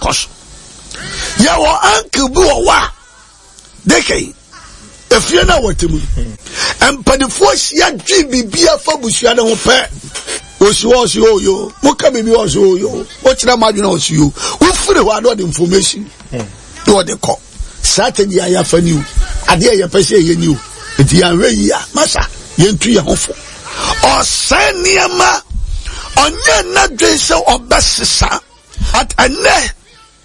akɔ so. Yɛwɔ uncle bi wɔ hɔ a deke efie no a wɔte mu mpanimfoɔ hyia dwe biribi afa busua no ho pɛ osi hɔ ɔsi oyo moka biribi ɔsi oyo wokyerɛ mo adwene ɔsi yo wofiri hɔ a na ɔde information na ɔde kɔ strategy a yɛafa ni o adeɛ a yɛpɛ sɛ yɛyɛ ni o nti yɛanhwɛ yi a masa yɛntu yɛn ho fo ɔsɛe nneɛma ɔnyɛ n'adwene sɛ ɔbɛsesa at ɛnɛ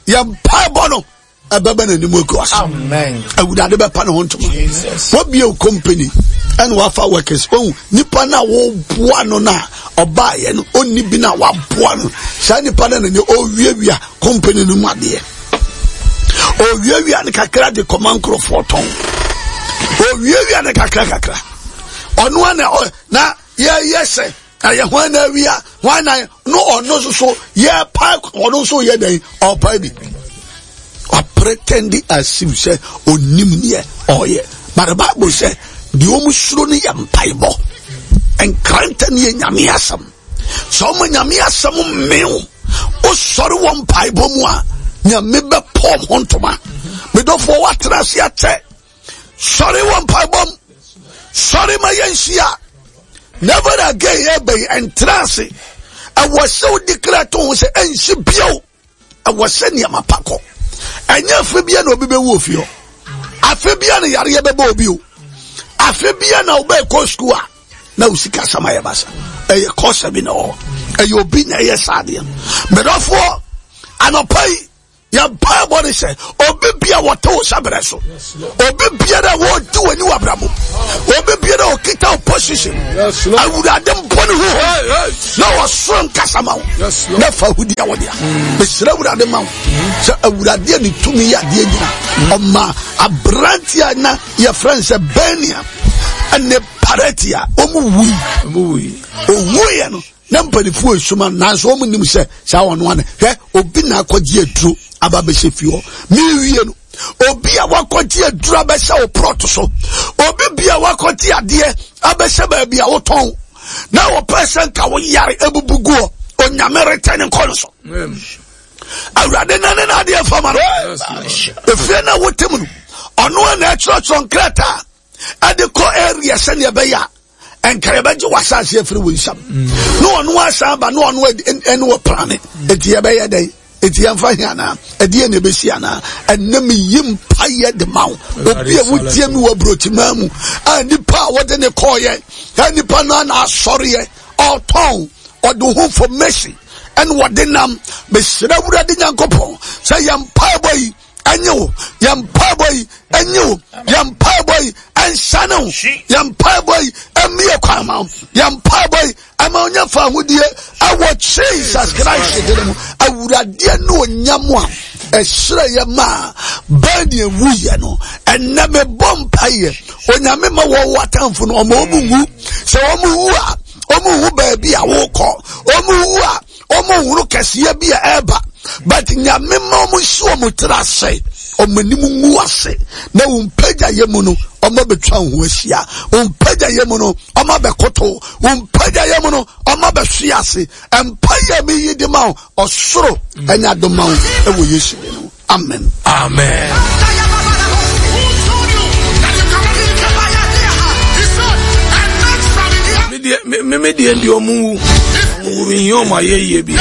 yɛn mpaebɔ no ɛbɛbɛ n'anim agu ase awurade bɛpa ne ho ntoma wabie wo company ɛna wafa workers ohun nipa na wɔboa no na ɔbaayɛ no ɔnni bi na waboa no saa nipa no na ne ɔwiawia company no mu adeɛ ɔwiawia no kakra de kɔma nkurɔfoɔ tɔn ɔwiawia no kakra kakra ɔno ana na yɛyɛ sɛ ɛyɛ hwan na awia hwan na no ɔno nso so yɛpa ɔno nso yɛ dɛn ɔpa bi ɔpretɛndi as if sɛ onim neɛ ɔyɛ but the bible sɛ deɛ ɔmu suro no yɛ mpaebɔ nkrantɛ no yɛ nyame asɛm sɛ ɔma nyame asɛm mmew wosɔre wɔ mpaebɔ mu a nyame bɛpɔm ho ntoma medɔfoɔ woatena ase akyɛ sɔre wɔ mpaebɔ mu sɔre ma yɛnhyia never again ɛbɛyi ɛntra ase ɛwɔ sɛ wodi kra to ho sɛ ɛnsi bio ɛwɔ sɛ nneɛma pa kɔ ɛnyɛ afe bia na obi bɛwu ofie hɔ afe bia na yareɛ bɛbɔ obi o afe bia na wobɛkɔ sukuu a na wo sika sɛm ayɛ basa ɛyɛ kɔsa bi na ɔwɔ ɛyɛ obi na ɛyɛ saa adeɛ mɛdɔfoɔ anɔpa yi Yɛn mpaebɔ ne sɛ obi bia wɔte wo hyɛbrɛ so, obi biara a wɔdi w'ani wɔ abrabɔ, obi biara a ɔkita wo position, awurade mbɔ ne ho na ɔsoro nkasa ma wo na fa ahudi a wɔde a. Mesrɛ awurade ma wo sɛ awurade a ne tumi yɛ adeɛ nyina ɔma aberante a na yɛfrɛ no sɛ Benia ɛne Paratia wɔn wui. Owuiɛ no na mpanimfoɔ esuma nanso wɔn nim sɛ saa wɔn ano hwɛ obi na akɔgye aduro aba abɛhyɛ fie hɔ mewie no obi a wakɔgye aduro abɛhyɛ wo prɔt so obi bi a wakɔgye adeɛ abɛhyɛ baabi a wotɔn na wɔpɛ sɛ nka wo yare ebubu guɔ onyame retɛ ne nkɔ no so awurade na ne n'adeɛ fama no efie na wote mu no ɔno a na ɛkyerɛkyerɛ nkrataa ɛde kɔ area sɛnea ɛbɛyɛ a nka yɛbɛgye w'asase afiri wo nsam mm. na ɔno asan ba na ɔno ɛne wɔ plane mm. eti yɛbɛyɛ dɛn eti yɛmfa he anaa ɛdeɛ na ɛbɛsi anaa ɛnɛ meyi mpayɛ de ma wo obi a wotie mi wɔ aburokyimaa mu a nipa a wɔde ne kɔɔyɛ a nipa no ana asɔreɛ ɔtɔn ɔde ho information ɛne wɔde nam mesrɛ awurade nyankopɔn sɛ yɛn mpaebɔ yi ɛnye wo yɛn mpaebɔ yi ɛnye wo yɛn mpaebɔ yi ɛnsane wo yɛn mpaebɔ yi ɛmmie kwan ma wo yɛn mpaebɔ yi ɛma ɔnyɛ fa ahodie ɛwɔ Jesus Christ de mu awuradeɛ ne onyam a ɛhyerɛ yɛ maa bɛn deɛ wuyɛ no ɛnɛ mebɔ mpaeɛ onyame ma wɔwɔ atamfo no ɔma ɔmu nwu sɛ ɔmu wu a ɔmu hu baabi a wokɔ ɔmu wu a wɔn nhunu kɛseɛ bi a ɛreba but nyame ma wɔn nsi wɔn tiri ase wɔn anim ngu ase na wɔn mpagya yɛ mu no wɔn abɛtwa wɔn ho ahyia wɔn mpagya yɛ mu no wɔn abɛkoto wɔn mpagya yɛ mu no wɔn abɛhwe ase mpa yɛ mi yi de ma ɔsoro ɛnya do ma wo ɛwɔ Yesu din mu. Amen. Amen. Me me deɛ deɛ ɔmo wu ɔmo wu mi hia ɔmo ayɛ yie bi.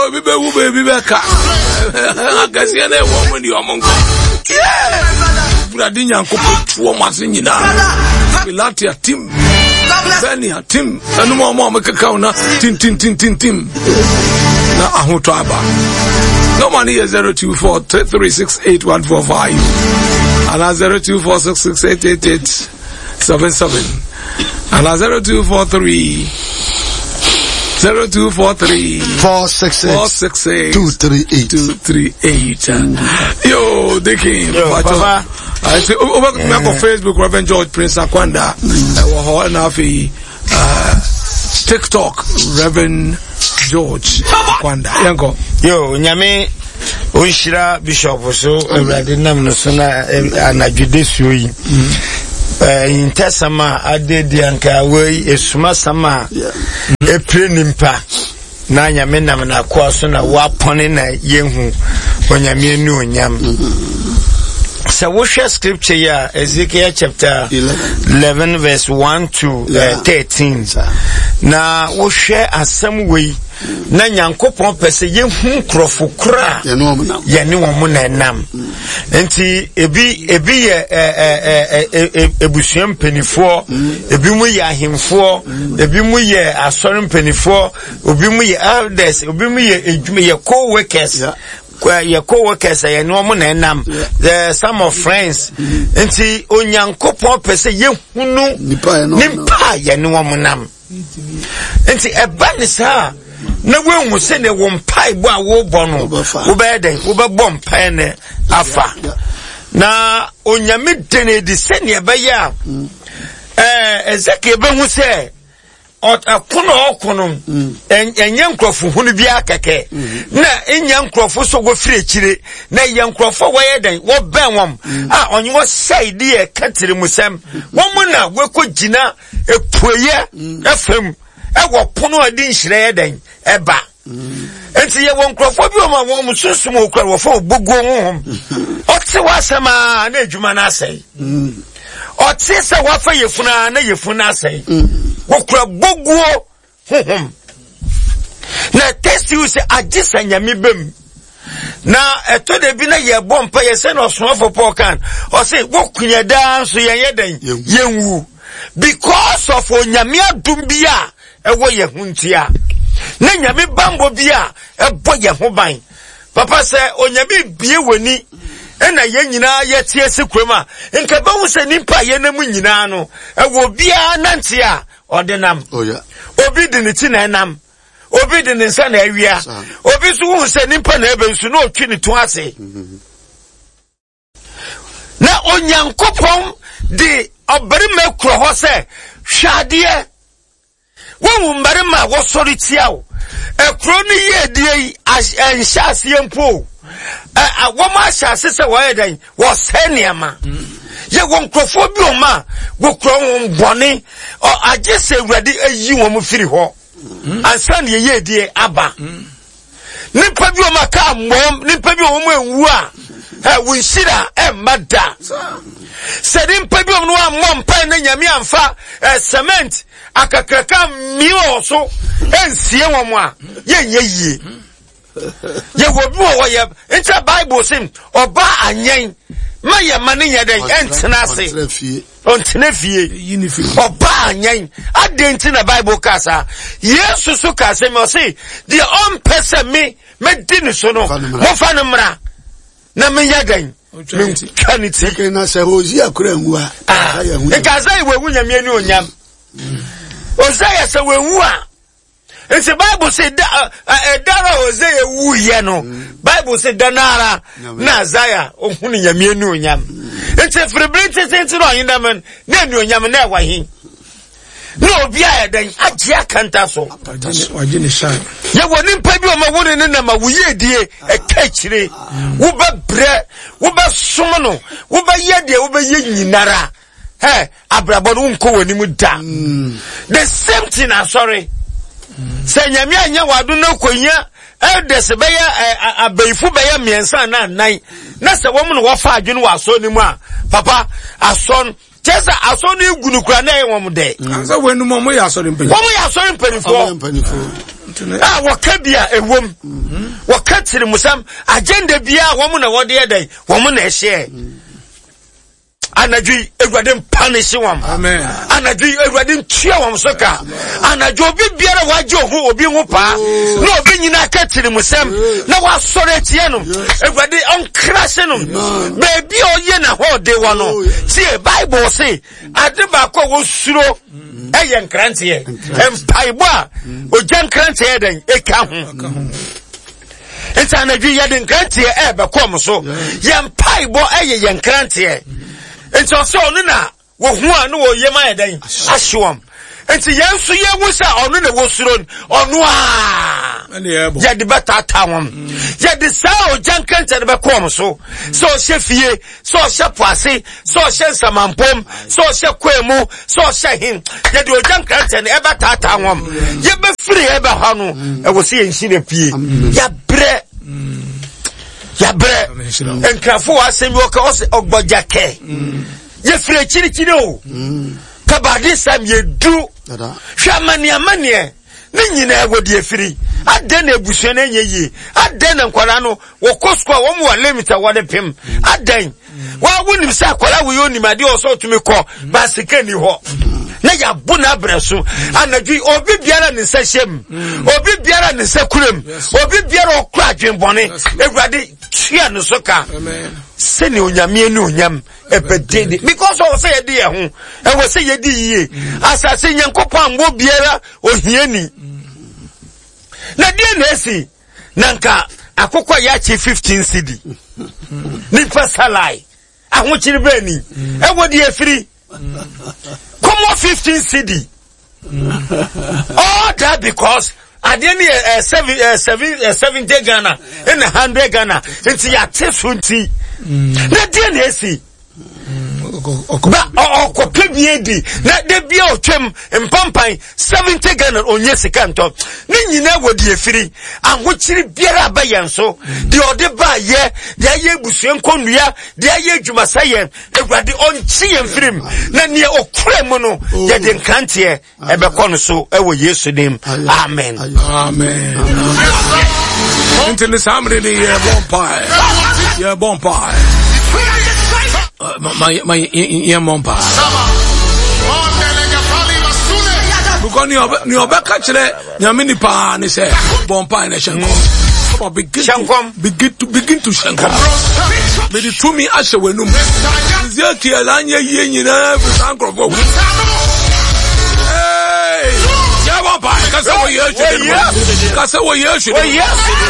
Obi bɛ wu baabi bɛ ka akɛseɛ na ɛwɔ ɔmo deɛ ɔmo nkɔ. Wurade Nyankopɔn tu ɔmo ase nyinaa. Pilatia tim. Bɛnia tim. Ɛnum a wɔn a wɔkeka wo na tintintintintim na ahotɔ aba. Nɔmba no yɛ 0243368145 anaa 0246688877 anaa 0243 0243 466 466 238 238. Yo, Dicky, Yo, Papa. Nti wobɛtumi akɔ Facebook Reverend George Prince Akwanda ɛwɔ hɔ ɛna afei TikTok Reverend George Akwanda yɛnkɔ. Yo, nyame ɔnhyira bishop so awurade nam no so na anadwo de suo yi mm. Ahintasɛm a ade di anka wei esumasɛm a epire nipa na Nyame nam n'akoa so na wapɔne na yɛhu Onyame anuonyam. Sɛ wohwɛ scripture yi a, Ezekiel chapter 11 verse 1 to 13, na wohwɛ asɛm wei na Nyankopɔn pɛ sɛ yɛhu nkurɔfo korɔ a yɛne wɔn na ɛnam. Nti ebi ebi yɛ ebusua mpanimfoɔ, ebi mu yɛ ahemfoɔ, ebi mu yɛ asɔre mpanimfoɔ, obi mu yɛ elders, obi mu yɛ edwuma yɛ co-workers. Yɛ co-workers a yɛne wɔn na ɛnam, some of friends. Nti Onyankopɔn pɛ sɛ yɛhunu nipa a yɛne wɔn nam. Nti ɛba ne saa na woahu sɛdeɛ wo mpaebɔ a wobɔ no wobɛyɛ dɛn, wobɛbɔ mpae no afa. Na Onyame de no adi sɛdeɛ ɛbɛyɛ a Ezekiel bɛhu sɛ ɔko na ɔko no ɛnyɛ nkurɔfo hunu biara kɛkɛ, na ɛnyɛ nkurɔfo so wɔfiri akyire, na ɛyɛ nkurɔfo a wɔyɛ dɛn wɔbɛn wɔn a ɔnye wɔsɛe deɛ ɛka tirimusɛm wɔn mu na wɔkɔ gyina epueyɛ ɛfam ɛwɔ pono a ɛde nhyira yɛ dɛn ɛba. Nti yɛwɔ nkurɔfoɔ bi wɔn a wɔn sunsum okura wɔfɔ oboguo honhom. Ɔte w'asɛm a na adwuma no asɛe. Ɔte sɛ wafa yɛfunu a na yɛfunu no asɛe. Wɔkura boguo honhom. Na ɛtɛsi sɛ agye sɛ Nyame bɛm. Na ɛtɔ da bi na yɛbɔ mpa yɛ sɛ na ɔsomafo Paul kan ɔse wokunya daa nso yɛnyɛ dɛn yɛnwu because of Onyame adom bi a ɛwɔ yɛn ho ntia na Nyame bambɔ bi a ɛbɔ yɛn ho ban. Papa sɛ Onyame bie w'ani ɛna yɛn nyinaa yɛte ase kurom a nka bɛhu sɛ nipa a yɛnam nyinaa no ɛwɔ obiara nante a ɔde nam. Obi de ne ti na ɛnam, obi de ne nsa na awia, obi nso wohu sɛ nipa na ɛbɛ nso na ɔtwi ne to ase. Na Onyankopɔn de ɔbarima kura hɔ sɛ hwɛ adeɛ, wohu mmarima a wɔsɔre tia wo. Ɛkuro no yiedie yi ɛnhyɛ aseɛ mpo, wɔn ahyɛ ase sɛ wɔyɛ dɛn wɔsɛe nneɛma. Yɛwɔ nkurɔfoɔ bi wɔn a wɔkura wɔn bɔne, agye sɛ Awurade ayi wɔn firi hɔ ansa na yiedie aba. Nipa bi wɔn aka mmɔm, nipa bi wɔn anwu a wɔn nhyira ɛmma da. Sɛ nipa bi wɔn ammɔ mpae na Nyame amfa cement akakraka mmie wɔ so nsie wɔn a, yɛnyɛ yie. Yɛwɔ bi wɔ hɔ yɛ nkyɛ Bible se ɔba anyɛn ma yɛ ma ne nyɛ dɛn ɛntena ase ɔntena fie ɔba anyɛn. Adɛn nti na Bible ka saa? Yesu so ka sɛ me ɔse deɛ ɔmpɛ sɛ me mɛdi ne so no momfa no mmra na menyɛ dɛn mentwa ne ti. Na sɛ Hosea kura nwu a nka sɛ wɔawu Nyame ani onyam. Hosea sɛ wɔawu a nti Bible sɛ ɛdara Hosea wuyɛ no, Bible sɛ da no ara na Isaiah ohunu Nyame anuonyam. Nti firibiri tententen na ɔhen dɛm na anuonyam na ɛwɔ he na obi a ɛdɛn agye akanta so. Yɛwɔ nipa bi ɔma wo ne ne nam a woyɛ die ɛka akyire, wobɛbrɛ, wobɛsom no, wobɛyɛ deɛ wobɛyɛ nyinara. Hey, abrabɔ no wonkɔ w'anim da. The same thing asɔre. Sɛ Nyame anyɛ w'ado no kɔhia elders bɛyɛ abayifo bɛyɛ mmiɛnsa na nnan na sɛ wɔn na wɔfa adwene wɔ asɔre no mu a, papa asɔre kyerɛ sɛ asɔre no egu no kura na ɛyɛ wɔn dɛ. Sɛ wɔn anum wɔn yɛ asɔre mpanyinfoɔ. Wɔn yɛ asɔre mpanyinfoɔ. A wɔka bi a ɛwom, wɔka tirimusɛm agenda biara wɔn na wɔde yɛ dɛ wɔn na ɛhyɛ. Anadwo yi Awurade mpanihye wɔn. Anadwo yi Awurade ntua wɔn so ka. Anadwo obi biara wagye oho obi ho paa na obi nyinaa ka tirimusɛm na wasɔre atia no, Awurade ɔnkrase no baabi a ɔyɛ n'ahoɔden wɔ no. Tie Bible se ade baako a wɔsuro ɛyɛ nkranteɛ, mpaebɔ a ogya nkranteɛ yɛ dɛn ɛka ho. Nti anadwo yɛde nkranteɛ ɛrebɛkɔ ɔmo so. Yɛn mpaebɔ ɛyɛ yɛn nkranteɛ. Nti ɔsɛ ɔno na wɔhu a na wɔyɛ ma yɛ dɛn ahye wɔn. Nti yɛn nso yɛhu sɛ ɔno na wɔsuro no, ɔno a. Yɛde bɛtaataa wɔn. Yɛde saa ogya nkrantɛ no bɛkɔ wɔn so. Sɛ ɔhyɛ fie, sɛ ɔhyɛ po ase, sɛ ɔhyɛ nsamampom, sɛ ɔhyɛ kwae mu, sɛ ɔhyɛ hen. Yɛde ogya nkrantɛ no ɛbɛtaataa wɔn. Yɛbɛfiri ɛbɛ hɔ no, ɛwɔ sɛ yɛn nhyira pie. Yɛabrɛ. Yɛabrɛ. Nkrafo wɔ asɛm bi wɔka ɔsɛ ɔgbɔgya kɛ. Yɛfiri akyirikyiri o. Kabade sɛm yɛdu. Hwɛ amaneɛ amaneɛ. Ne nyinaa wɔ deɛ firi. Adɛn na abusua no anyɛ yie? Adɛn na nkwadaa no wɔkɔ sukuu a wɔn wɔ limit a wɔde pem? Adɛn? Wa wonim sɛ akwadaa wei onim adeɛ ɔsɛ ɔtumi kɔ baasika ni hɔ na yɛabo no abrɛ so anadwo yi obi biara ne nsa hyɛ mu obi biara ne nsa kura mu obi biara ɔkura adwenbɔne awurade tua no so ka sɛnea onyame ne onyam ɛbɛde de because ɔwɔ sɛ yɛde yɛn ho ɛwɔ sɛ yɛdi yie asase nyankopɔn ammɔ biara ohiani na deɛ na esi na nka akokɔ yɛ akye 15 cedi nipa salai ahokyere bɛɛ ni ɛwɔ deɛ efiri kɔmɔ 15 cedi all that because adeɛ no yɛ eh, seven eh, seven eh, 70 Ghana ɛna 100 Ghana nti yɛate so nti na deɛ na esi ba ɔkɔpɛ bi adi na da bia ɔtwam mpampan 70 Ghana ɔnyɛ sika ntɔ ne nyinaa wɔ deɛ firi ahokyere biara aba yɛn so deɛ ɔde ba yɛ deɛ ayɛ abusua nkɔnnua deɛ ayɛ adwumasa yɛn awurade ɔnkye yɛn firim na neɛ ɔkura mu no oh. yɛde nkranteɛ ɛbɛkɔ no so ɛwɔ yesu dim amen amen nti ne saa mmere ne yɛbɔ mpae yɛbɔ mpae yɛmmɔ mpae because nea ɔbɛka kyerɛ nyame nipa ne sɛ bɔ mpae na hyɛ nkɔm Come on, begin to, begin to, begin to hyɛ nkɔm. Mede tumi ahyɛ w'anum. Ezekiel anyɛ yie nyinaa firi saa nkurɔfoɔ wu. Yɛbɔ mpae kasa wɔ Yesu din mu. Kasa wɔ Yesu din mu.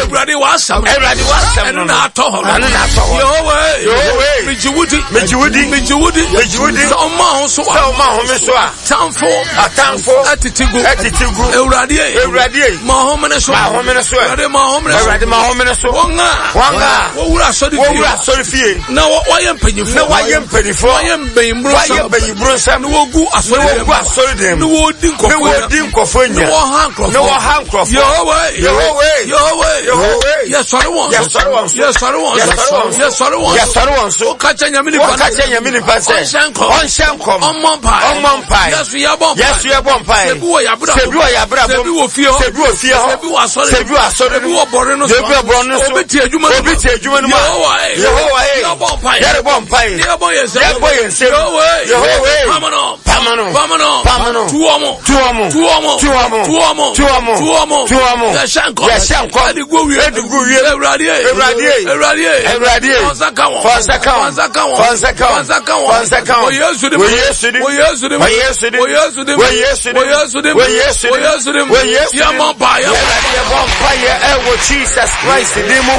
Awurade w'asɛm. Awurade w'asɛm. Ɛno na atɔ hɔ. Ɛno na atɔ hɔ. Yehowa. Yehowa. Megye wo di. Megye wo di. Megye wo di. Megye wo di. Sɛ ɔma ho so a. Sɛ ɔma ho so a. Atamfo. Atamfo. Atete gu. Atete gu. Awurade. Awurade. Ma ɔhomene so. Ma ɔhomene so. Awurade ma ɔhomene so. Awurade ma ɔhomene so. Wɔn a. Wɔn a. Wɔwura asɔre fie. Wɔwura asɔre fie. Na wɔyɛ mpanyinfoɔ. Na wɔyɛ mpanyinfoɔ. Wɔyɛ mbanyimburo nsɛm. Wɔyɛ mbanyimburo nsɛm. Na wɔgu asɔre dɛm. Na wɔgu asɔre dɛm. Na wɔdi nkɔfo Na wɔdi nkɔfo nya. Na wɔha nkurɔfoɔ. Na wɔha nkurɔfoɔ. Yehowa. Yehowa. Yehowa. Yehowa. Yɛsɔre wɔn so. Yɛsɔre wɔn so. Yɛsɔre wɔn so. Yɛsɔre wɔn so. Yɛsɔre wɔn so. Wɔka kyerɛ nyame nipa. Wɔka kyerɛ nyame nipa sɛ. Ɔnhyɛ nkɔm. Ɔnhyɛ nkɔm. Ɔmmɔ mpae. Ɔmmɔ mpae. Yɛsu yɛbɔ mpae. Yɛsu yɛbɔ mpae. Sɛ bi wɔ yabra. Sɛ bi wɔ yabra. Sɛ bi wɔ fie hɔ. Sɛ bi wɔ fie hɔ. Sɛ bi wɔ asɔre. Sɛ bi wɔ asɔre. Sɛ bi wɔ bɔre no so. Sɛ bi wɔ bɔre no so. Obi tie adwuma no mu. Obi tie adwuma no mu. Yehowa e. Yehowa e. Yɛbɔ mpae. Yɛrebɔ mpae. Yɛbɔ yɛn nsam. Yɛbɔ yɛn nsam. Yehowa e. Yehowa e. Pamano. Pamano. Pamano. Pamano. Tu wɔn. Tu wɔn. Tu wɔn. Tu wɔn. Tu wɔn. Tu wɔn. Tu wɔn. Tu wɔn. Yɛhyɛ nkɔm. Yɛhyɛ nkɔm. Ɛde gu wie. Ɛde gu wie. Awurade e. Awurade e. Awurade e. Awurade e. Fɔnsa ka wɔn. Fɔnsa ka wɔn. Fɔnsa ka wɔn. Fɔnsa ka wɔn. Fɔnsa ka wɔn. Fɔnsa ka wɔn. Wɔ Yesu dim. Wɔ Yesu dim. Wɔ Yesu dim. Wɔ Yesu dim. Wɔ Yesu dim. Wɔ Yesu dim. Wɔ Yesu dim. Wɔ Yesu dim. Wɔ Yesu dim. Wɔ Yesu dim. Yɛbɔ mpaeɛ. Awurade yɛbɔ mpaeɛ ɛwɔ Jesus Christ din mu.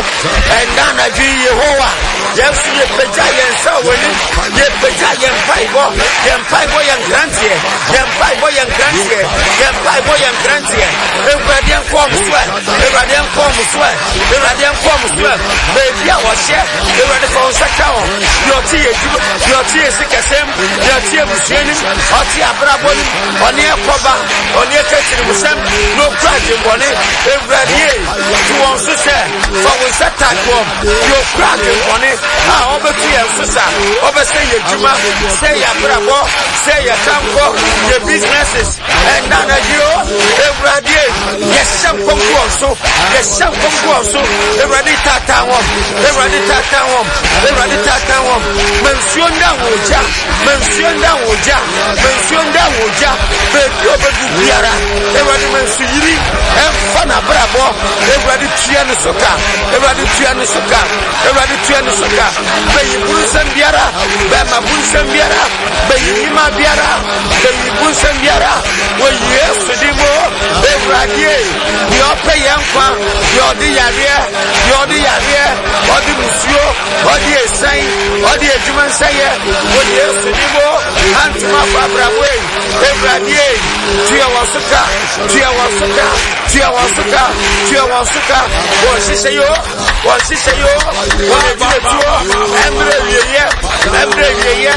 Ɛnna anadwo yi Yehowa yɛn nso yɛpagya yɛn nsa wɔ w'anim. Yɛpagya yɛn mpaebɔ. Yɛn mpaebɔ yɛ nkranteɛ. Yɛn mpaebɔ yɛ nkranteɛ. Yɛn mpaebɔ yɛ nkranteɛ. Awurade nkɔ wɔn so ɛ. Awurade nkɔ wɔn so ɛ. Awurade nkɔ wɔn so ɛ. Baabi a wɔhyɛ Awurade fa wɔn nsa ka wɔn. Deɛ ɔte yɛ adwuma, deɛ ɔte yɛ sikasɛm, deɛ ɔte abusua nim, ɔte abrabɔ nim, ɔne ɛkɔba, ɔne ɛkɛkyirimusɛm, na ɔkura adwemmɔne. Awurade yɛ to wɔn so sɛ fa wo nsa tak wɔn. Deɛ ɔkura adwemmɔne a ɔbɛto yɛn so sa, ɔbɛsɛ yɛ adwuma, sɛ yɛ abrabɔ, sɛ yɛ kankɔ, yɛ businesses. Ɛnna anadwo Awurade yɛhyɛ nkɔm gu wɔn so, yɛhyɛ nkɔm gu wɔn so. Awurade taataa wɔn, Awurade taataa wɔn, Awurade taataa wɔn. Ma nsuo nda wɔn ogya, ma nsuo nda wɔn ogya, ma nsuo nda wɔn ogya. Baabi a ɔbɛdu biara, Awurade ma nsu yiri ɛmfa n'abrabɔ. Awurade tua ne so ka, Awurade tua ne so ka, Awurade tua ne so ka. Bɛyi bunsɛm biara, bɛma bunsɛm biara, bɛyi nima biara, bɛyi bunsɛm biara. Wɔ Yesu din mu, Awurade, deɛ ɔpɛ yɛn nkwa, deɛ ɔde yareɛ, deɛ ɔde yareɛ, ɔde musuo, ɔde esan, ɔde adwuma nsɛyɛ, wɔ Yesu din mu, antoma afɔ abrabɔ yi, Awurade, tua wɔn so ka, tua wɔn so ka. Tua wɔn so ka, tua wɔn so ka. Wɔn hyehyɛ yo, wɔn hyehyɛ yo, wɔn agyinatuo, ɛmmerɛ wieyɛ, ɛmmerɛ wieyɛ.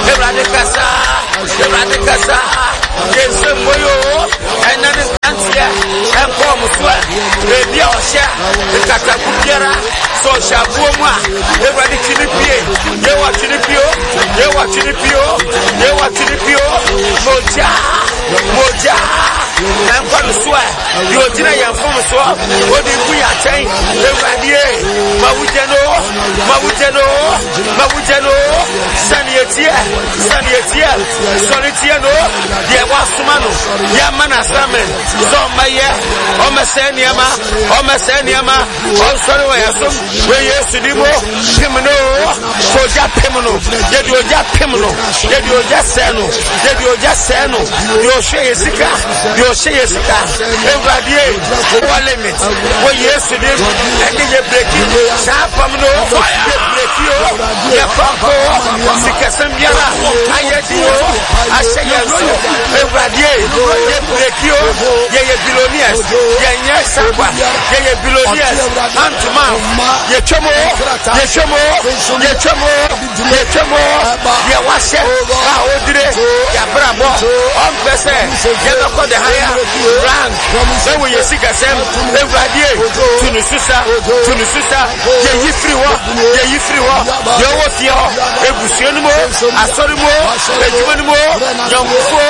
Awurade kasa, Awurade kasa, yɛn nsɛm bɔ yo, ɛnna ne nkanteɛ, ɛnkɔ wɔn so ɛ, baabi a ɔhyɛ, nkataku biara, sɛ ɔhyɛ aboɔ mu a, Awurade twi ne pie, Yehowa twi ne pie o, Yehowa twi ne pie o, Yehowa twi ne pie o, mogya, mogya, ɛnkɔ no so ɛ, deɛ ɔgyina yɛn fom soɔ, ɔde gu yɛn atɛn, Awurade ma wogya no, ma wogya no, ma wogya no, sɛdeɛ ɛteɛ, sɛdeɛ ɛteɛ, sɔre tie no, deɛ wasoma no, yɛama no assignment, sɛ ɔmmɛyɛ, ɔmmɛsɛe nneɛma, ɔmmɛsɛe nneɛma, ɔnsɔre wɔ yɛn som, wɔ Yesu din mu, pem no, sɛ ogya pem no, yɛde ogya pem no, yɛde ogya sɛe no, yɛde ogya sɛe no, deɛ ɔhwɛ yɛ sika, deɛ ɔhyɛ yɛ sika, Awurade, wɔ limit, wɔ Yesu din mu, ɛne yɛ breki, saa apam no, yɛ breki o, yɛ kɔnkɔ, sikasɛm biara, ayɛ di o, ahyɛ yɛn so, Awurade, yɛ breki o, yɛyɛ billionaires, yɛnyɛ sakwa, yɛyɛ billionaires, antoma, yɛtwam o, yɛtwam o, yɛtwam o, yɛtwam o, deɛ wahyɛ a ɔdire, yɛabrabɔ, ɔmpɛ sɛ yɛbɛkɔ the higher rank, ɛwɔ yɛ sikasɛm, Awurade, tu no susa, tu no susa, yɛyi firi hɔ, yɛyi firi hɔ, deɛ ɔwɔ fie hɔ, ebusua no mu, asɔre mu, adwuma no mu, yɔnkofoɔ,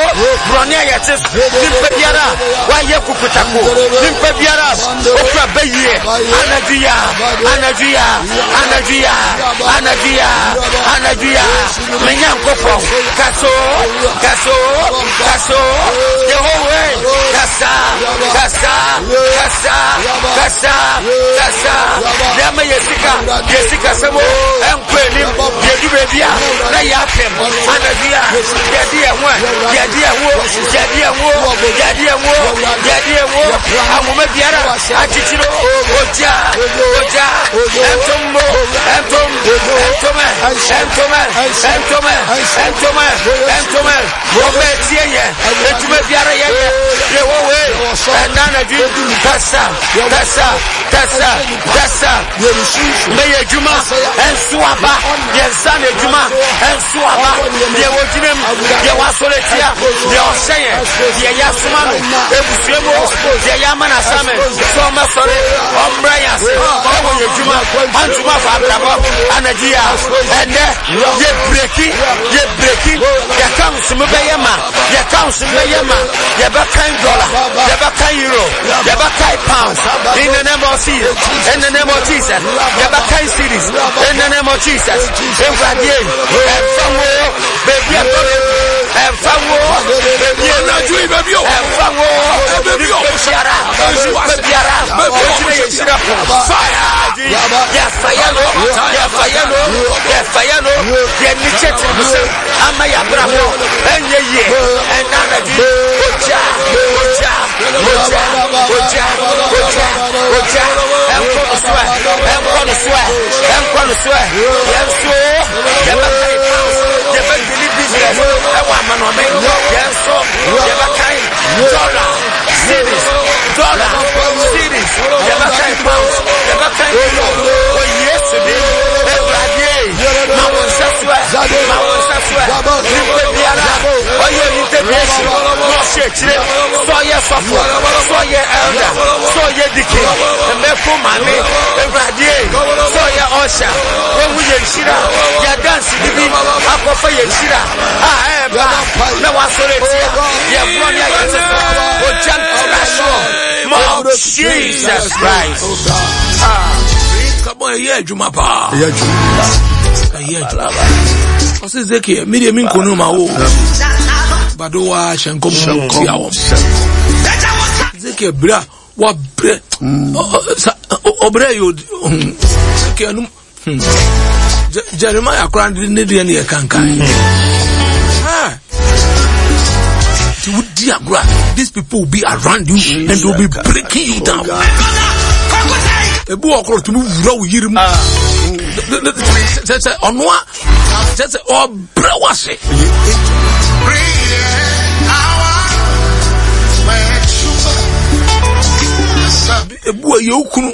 borɔne a yɛte so, nipa biara wayɛ kukutako, nipa biara okura bɛyie, anadwo ya, anadwo ya, anadwo ya, anadwo ya, anadwo ya, me Nyankopɔn, kaso, kaso, kaso, Yehowa, kasa, kasa, kasa, kasa, kasa, nneɛma yɛ sika, yɛ sika sɛm o, ɛnkɔ anim, yɛdu baabi a, na yɛapem, anadwo yi a, yɛde yɛn ho a, yɛde yɛn ho, yɛde yɛn ho, yɛde yɛn ho, yɛde yɛn ho, ahoma biara, akyekyere o, ogya, ogya, ɛntom mo, ɛntom, ɛntom, ɛntom, ɛntom, ɛntom, ɛntom, wɔn bɛɛ tie yɛ, adwuma biara yɛyɛ, yɛwɔ wei, ɛna anadwo yi, kasa, kasa, kasa, kasa, mɛyɛ adwuma, ɛnso aba, yɛn nsa na adwuma, ɛnso aba, deɛ wɔgyina mu, deɛ wɔasɔre tia, deɛ ɔhyɛ yɛn, deɛ yɛasoma no, ebusua mu, deɛ yɛama no asame, sɛ ɔmɛsɔre, ɔmmrɛ yɛn ase, ɛwɔ yɛn adwuma, antuma fa abrabɔ, anadwo yi a, ɛnɛ, yɛ breki, yɛ breki, yɛka nsom bɛyɛ ma, yɛka nsom bɛyɛ ma, yɛbɛkan dɔla, yɛbɛkan euro, yɛbɛkan pounds, in the name of Jesus, in the name of Jesus, yɛbɛkan cedis, in the name of Jesus, Ewurade, ɛmfa wo, baabi a tɔre, ɛmfa wo, baabi a Anadwo yi baabi a ɛmfa wo, Baabi a nipa biara, nipa biara, ogyina yɛ hyira po, Fire! yɛfa yɛ no, yɛfa yɛ no, yɛfa yɛ no, yɛni kyɛkyɛ mu sɛ ama yɛ abrabɔ ɛnyɛ yie, ɛna anadwo yi, ogya, ogya, ogya, ogya, ogya, ogya, ɛnkɔ no so ɛ, ɛnkɔ no so ɛ, ɛnkɔ no so ɛ, yɛn nso yɛbɛka yɛ pounds, yɛbɛdili business ɛwɔ amanɔne, yɛn nso yɛbɛka dollar, cedis, dollar, cedis, yɛbɛka pounds, yɛbɛka euro, wɔ Yesu din, Awurade, ma wo nsa so ɛ, ma wo nsa so ɛ, nipa biara ɔyɛ integration na ɔhyɛ akyire, sɛ ɔyɛ sɔfo, sɛ ɔyɛ elder, sɛ ɔyɛ deacon, mmɛfo maame, Awurade, sɛ ɔyɛ ɔhyɛ, wɔhu yɛn nhyira, yɛ dansi bi akɔfa yɛn nhyira a ɛɛba na wasɔre atia yɛ borɔ ne ayɛ te so, ogya ntra soɔ, ma Jesus Christ. Come on, ɛyɛ adwuma paa. Ɛyɛ adwuma. Ɛyɛ adwuma. Ɔsɛ Ezekiel, mi deɛ mi nkonu ma wo. Bado wa hyɛ nkɔm tia wɔn. Ezekiel bere a wabrɛ ɔbrɛ yɛ Ezekiel no Jeremiah koraa ne deɛ ne yɛ kankan. Nti wodi agorɔ a these people will be around you and they will be breaking you down. Ebi wɔ koro tumi wura wo yiri mu. Sɛ sɛ ɔno a sɛ sɛ ɔbrɛ wase. Ebi wɔ yɛ okunu.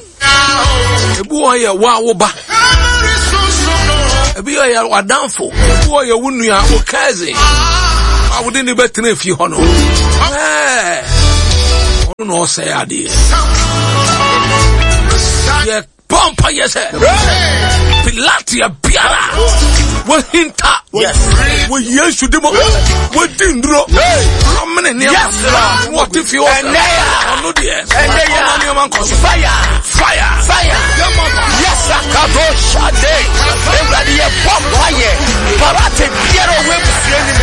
Ebi wɔ yɛ wo a wo ba. Ebi wɔ yɛ w'adamfo. Ebi wɔ yɛ wo nua, wo cousin. A wode ne bɛtena fie hɔ no. Ɛɛ, ɔno na ɔsɛe adeɛ. Yɛ bɔ mpa yɛ sɛ Pilatia biara wɔhinta wɔ Yesu di mu wɔdi nnuro wɔmene nneɛma wɔte fie hɔ sɛ ɔno deɛ ɔma nneɛma nkɔ so. Fire fire fire yes akado shade. Ewurade yɛ bɔ mpa yɛ parate biara ɔwɔ ebusua nim.